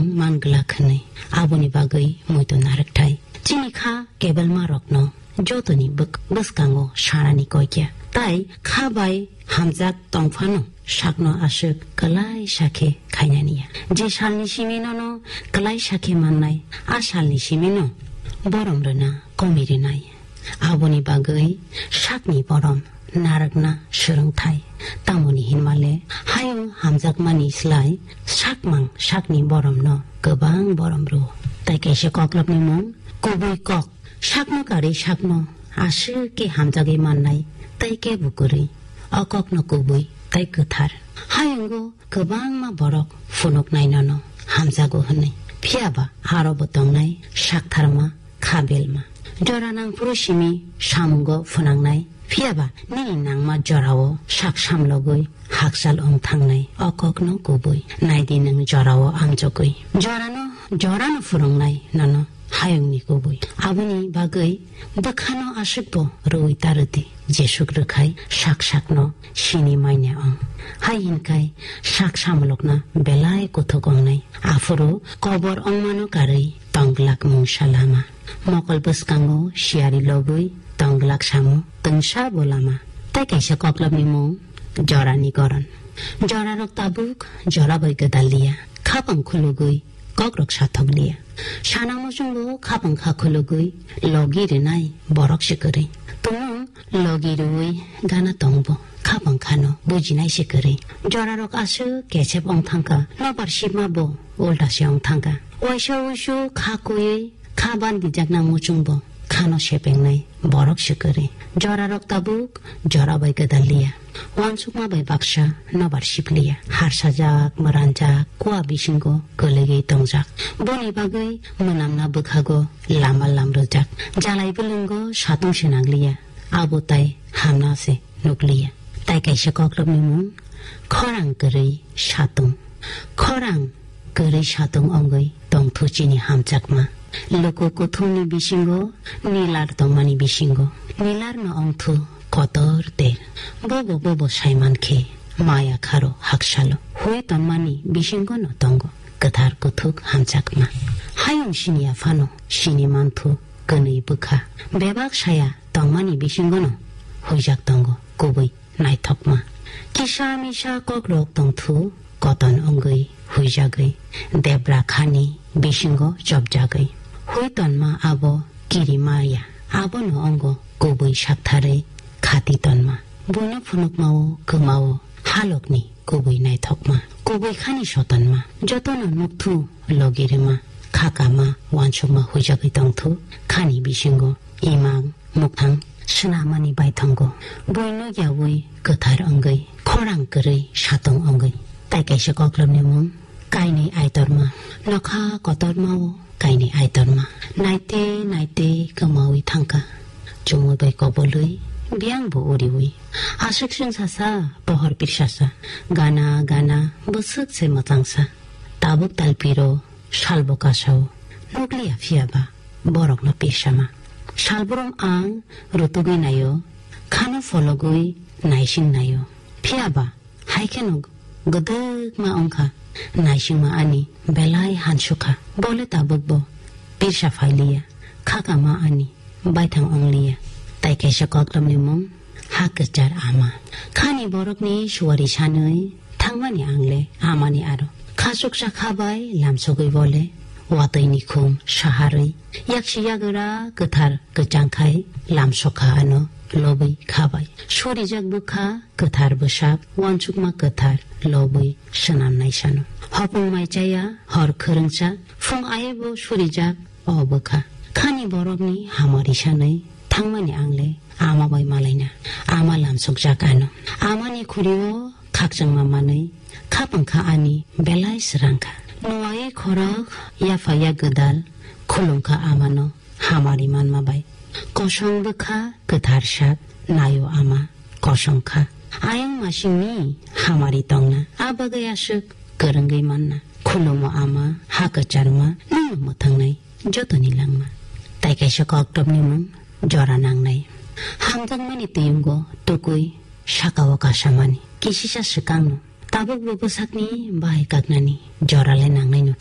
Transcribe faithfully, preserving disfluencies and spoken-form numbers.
man glak hwnwi. Aboni bagwi muitu narwkthai. Chini kha kebelma rokno jotoni bwk-, bwskango sanani koi kya. Tai kha bai hamjak tongphano sakno aswk kwlai sakhe khainani ya. Je salni simi nono kwlai sakhe mannai, a salni simi no borom rwna komi rwnai. Aboni bagwi sakni borom narwkna swrwngthai. Tamoni hinmale hayung hamjakmani slai sakmang sakni boromno kwbang borom rwo. Tai kaisa koklopni mung kubui kok. Sakno karwi sakno aswk khe hamjagwi mannai, tei kebo kwrwi. O kokno kubui tei kwthar. Hayungo kwbangma borok phunuknai nono hamjago hwnwi. Phiyaba arobo tongnai saktharma, khabelma. Jora nangphuru simi samungo phwnangnai. Phiyaba nini nangma jorao sak samlogwi hakchal wng thangnai. O kokno kubui. Naidi nwng jorao amjogwi. Jorano, jorano phwrwngnai nono hayungni kubui. Aboni bagwi bwkhano aswkbo rwui ta rwdi, jesuk rwkhai sak sakno sini manya wng. Hai hinkhai sak samlokna belai kuthuk wngnai. Aphuru kobor wngmano karwi tongglak mungsa lama. Mokol bwskango siyari logwi tongglak samo twngsa bo lama. Tai kaisa koklopni mung jorani goron. Jorarok tabuk jora bai gwdal liya. Khapang khulugwi kokrok sathok liya. Sana muchungo khapang kha khulugwi logi rinai borok se kwrwi. Tumung logi rwui gana tongbo khapang khano bujinai se kwrwi. Jorarok aswk kechep wng thangkha, nobar sima bo ulta se wng thangkha. Waisa uisu kha kuiwi kha bandijakna muchungbo khano sepengnai borok se kwrwi. Jorarok tabuk jora bai gwdal liya. Wansukma bai baksa nobar sip liya. Harsajak, mwranjak, kua bisingo kwlwigwi tongjak. Boni bagwi mwnamna bwkhago lama lam rwjak. Jalai bwlwngo satung se nang liya. Abo tai hamna se nuk liya. Tai kaisa koklopni mung khorang kwrwi satung. Khorang kwrwi satung wngwi tongthu chini hamjakma. Luku kuthumni bisingo nilar tongmani bisingo. Nilarno wngthu kotor ter. Bobo bobo saiman khe maya kharo haksalo. Hui tonmani bisingono tongo kwthar kuthuk hamjakma. Hayung siniya phano sini manthu kwnwi bwkha. Bebak saya tongmani bisingono huijak tongo kubui naithokma. Kisa misa kokrok tongthu koton wngwi huijagwi debra khani bisingo chopjagwi. Hui tonma abo kirimaya, abono wngkha kubui saktharwi khati tonma. Buino phunukmao kwmao halokni kubui naithokma. Kubui khani sotonma. Jotono nukthu logi rwma, khakama, wansukma huijagwi tongthu khani bisingo imang mukhang swnamani baithongo. Buino yaui kwthar wngwi, khorang kwrwi satung wngwi. Tai kaisa koklopni mung kainwi aitorma. Nokha kotormao kainwi aitorma. Naite naite kwmaui thangkha. Chumui bai kobolwi, biyangbo uriui. Aswk swngsasa, pohor pirsasa. Gana gana bwswk se mwchangsa. Tabuk talpiro salbo kasao. Nukliya phiyaba borokno pirsama. Salbrum ang rutugwi naio, khano phologwi naising naio. Phiyaba hai kheno gwdwkma wngkha, naisingma ani belai hansukha. Bole tabukbo pirsa phailiya, khakama ani baithang wngliya. Tai kaisa koklopni mung ha kwchar ama. Khani borokni suwari sanwi thangmani angle amani aro. Khachuksa kha bai lamsogwi bole watwi ni khum saharwi yaksi yagra kwthar kwchang khai lamsokha ano lobwi kha bai. Surijak bwkha kwthar bwsak, wansukma kwthar lobwi swnamnai sano. Hopung mai chaya, hor khwrwngsa, phung aibo surijak o bwkha. Khani borokni hamari sanwi thangmani angle ama bai malaina, ama lamsokjak ano. Amani khurio khakchangma manwi khapang kha ani belai srang kha. Nuwai khorok yapha yak gwdal khulum kha amano hamari manma bai. Kosong bwkha kwthar sak naio ama kosong kha. Ayang masingni hamari tongna, a bagwi aswk kwrwngwi manna. Khulumo ama ha kwcharma nwngno mwthangnai jotoni langma. Tai kaisa koktopni mung jora nangnai. Hamjakmani tiyungo tukui sakao kasamani. Kisisa swkangno tabukbo bwsakni bahai kaknani jora le nangnaino.